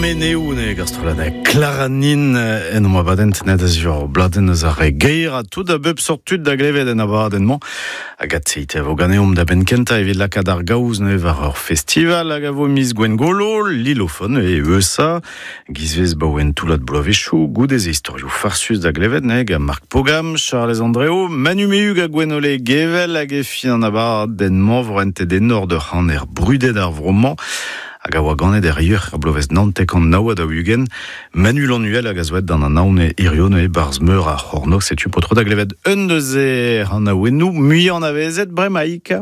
Meneou ne gar strollad Claranin en om abadenn tennet a ziwar bladenn eus ar re gaer ha tout a bep sort tud da glevet en abadenn-mañ. Hag atseit e vo ganeomp da benn kentañ evit lakaat ar gaoz neuze war ur festival hag a vo miz Gwengolo, Lilofon e Eusa. Gizvez baoen toullad bloavezhioù goude-se istorioù farsus da glevet neuze gant Marc Pogam, Charlez Andreo, Manu Mehug ha Gwenole Gevel hag e fin an abadenn-mañ vo rentet enor d'ur c'haner brudet ar vro-mañ hag a oa ganet er yuc'h er bloavezh 99 ha 40, Manu Lanuel hag a zo aet d'an anaon hirio neuze barzh meur ar c'hornôg. Setu paotr da glevet un deus e anaouennoù muiañ anavezet bremaik.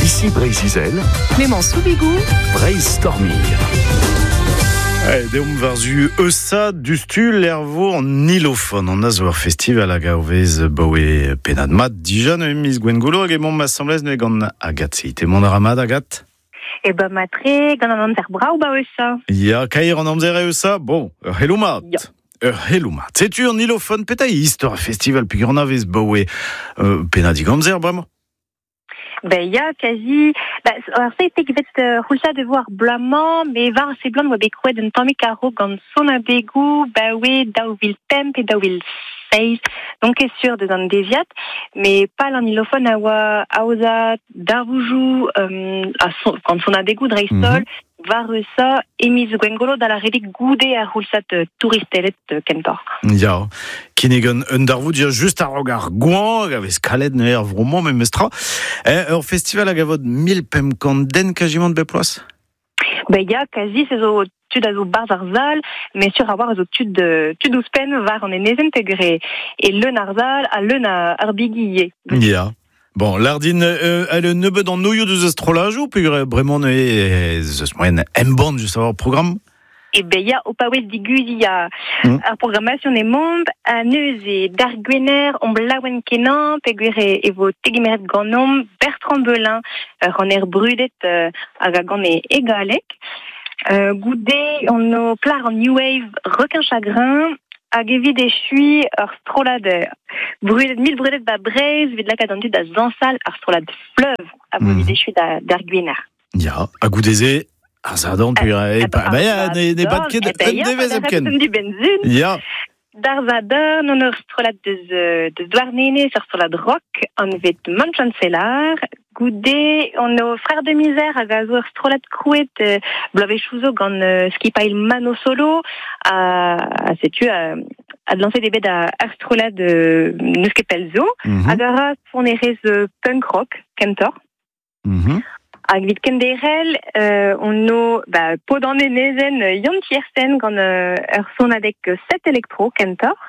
Ici Breizh-Izel. Clément Soubigou. Breizh Stormir. Deomp war-zu Eusa, dustu lervo an Nilofon. An a zo ur festival hag a vez baoe pennad mat dija neuze miz Gwengolo hag emaomp asambles neuze gant Agathe Seite. Mont a ra mat, Agathe? E ba matre, gant an amzer brav ba Eusa. Ya, kaer an amzer e Eusa, bon, ur c'heloù mat. Ya. Ur c'heloù mat. Setu an Nilofon, petra eo istor ar festival peogwir anavez baoe pennadig amzer bremañ? Ben ya, kazi. Ba, ar seitek vet c'houlzad e vo ar bloaz-mañ, me war seblant oa bet krouet un tammig a-raok gant sonadegoù baoe 2005 pe 2007. Donc ket sur deus an deziad, mais pal an Nilofon a oa aozañ darvoudoù a son, gant sonadegoù dreist-holl, war Eusa e miz Gwengolo da lâret goude ar c'houlzad touristeled kentoc'h. Ya, kinnig un, un darvoud ya just a-raok ar goañv hag a vez kalet neuze ar vro-mañ memestra. Ur festival hag a vod 1500 den kazimant bep bloaz? Ben ya, kazi, se zo tud a zo barzh ar sal, mais sur a-walc'h a zo tud, tud ouzhpenn war an enezenn peogwir e leun ar sal ha leun ar bigi ivez. Ya. Bon, lardin, elle un nebeud an noioù deus ar strollajoù, peogwir bremañ ez eus moaien embann just ar programm? E ben ya, o paouez diguziñ ar programmation emaomp, ha neuze d'ar Gwener omp laouen kenañ peogwir e vo tegemeret ganeomp Bertrand Belin, ur c'haner brudet hag a gan e galleg. Goude on o plac'h an New Wave Requin Chagrin hag evit echuiñ ur strollad brudet mil brudet ba Breizh evit lakaat an dud da zañsal ar strollad Fleuve a vo evit echuiñ d'ar Gwener. Ya, ha goude-se ar Sadorn peogwir ba ya, ne bad ket un devezh hepken. Ya. D'ar Sadorn on ur strollad deus deus Douarnenez, ur strollad rock anvet Manchancellor. Goude on o Frères de Misère hag a zo ur strollad krouet bloavezhioù zo gant skipailh Mano Solo ha setu adlañset eo bet ar strollad n'eus ket pell zo hag a ra sonerezh punk rock kentoc'h. Hag evit kenderc'hel on o ba, paotr an enezenn Yann Tiersen gant ur sonadeg set elektro kentoc'h.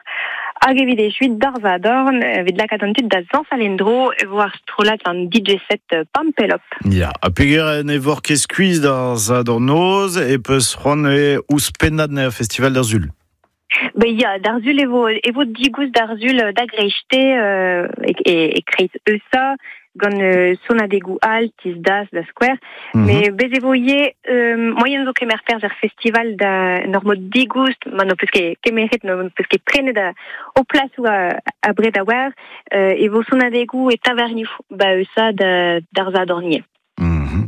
Hag evit echuiñ d'ar Sadorn, evit lakaat an tud da zañsal en-dro e vo ar strollad an DJ set Pampelop. Ya, ha peogwir ne vor ket skuizh d'ar Sadorn noz e peus c'hoant ouzhpennad er festival d'ar Sul. Ben ya, d'ar Sul e vo digoust d'ar Sul da greiste e kreiz Eusa gant sonadegoù all, Tiz Das, da skouer. Mais bez e vo ivez moaien zo kemer perzh er festival da en ur mod digoust, ma n'ho peus ket kemeret, n'ho peus ket prenet ho plasoù abred a-walc'h, e vo sonadegoù e tavernioù ba Eusa d'ar Sadorn ivez.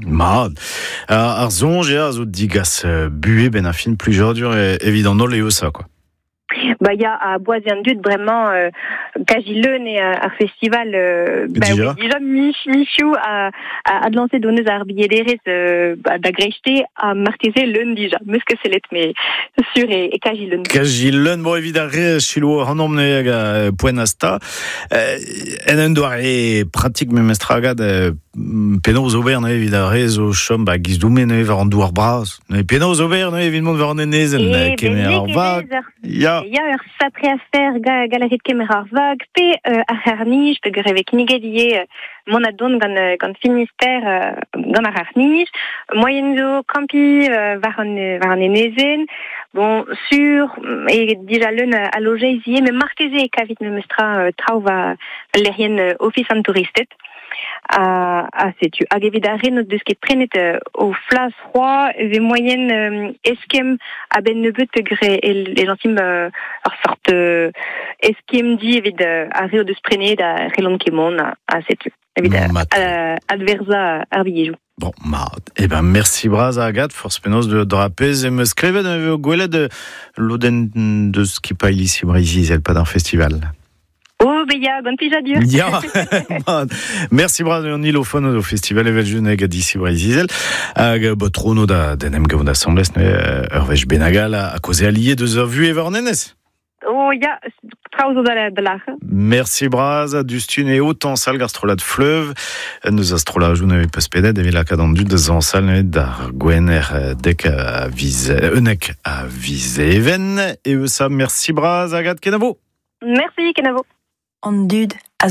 Mat. Ar soñj eo a zo digas buhez benn ar fin plijadur evit an holl eo ça, quoi. Ba ya, a boaz an dud bremañ kazi leun eo ar festival ba Dija. Dija michioù a adlañset hon eus ar bilhederezh ba, da greiste ha marteze leun dija. Meus ket sellet, mais sur e kazi leun. Kazi leun, bon, evit ar re silo ac'hanomp neuze hag a poent asta. En un doare pratik memestra gad penaos ober neuze evit ar re zo chom ba giz doume neuze war an douar bras. Neuze penaos ober neuze evit mont war an enezenn E kemer ar vag. Ya. Ya, ur sapre afer galerit kemer ar vag pe ar c'harr-nij, peogwir e vez kinniget ivez mont ha dont gant Finistère gant ar c'harr-nij. Moaien zo kampiñ war an enezenn. Bon, sur e dija leun a lojeiz ivez, met marteze e kavit memestra traoù war lec'hienn Ofis an touristed. Ha setu. Hag evit ar re n'o deus ket prenet o flas c'hoazh, e vez moaien eskemm a-benn nebeut peogwir e lañsimp ur sort eskemm di evit ar re o deus prenet ha c'hellont ket mont ha setu. Evit Mat. Adverzañ ar bilhejoù. Bon, mat. Eh ben, merci braz Agathe, force penaos de drapez e meus klevet eo gwelet lodenn deus skipailh ici Breizh-Izel pad ar festival. Oh, be ya, gant plijadur. Ya, mat. Merci braz an ilofon au festival evel juneg a d'ici Breizh-Izel. Hag bo trono da den em gavout asambles ne ur wech benagal a koze allié deus ur vu e nenez. Oh ya, traoù zo da lac'h. Merci braz, dustun e autant sal gar strollad fleuve. Neus a strollajou ne peus pedet evit lakaat an dud da zañsal ne d'ar gwener dek a viz unek a viz even. E eus a merci braz, Agathe Kenavo. Merci, Kenavo. An dud a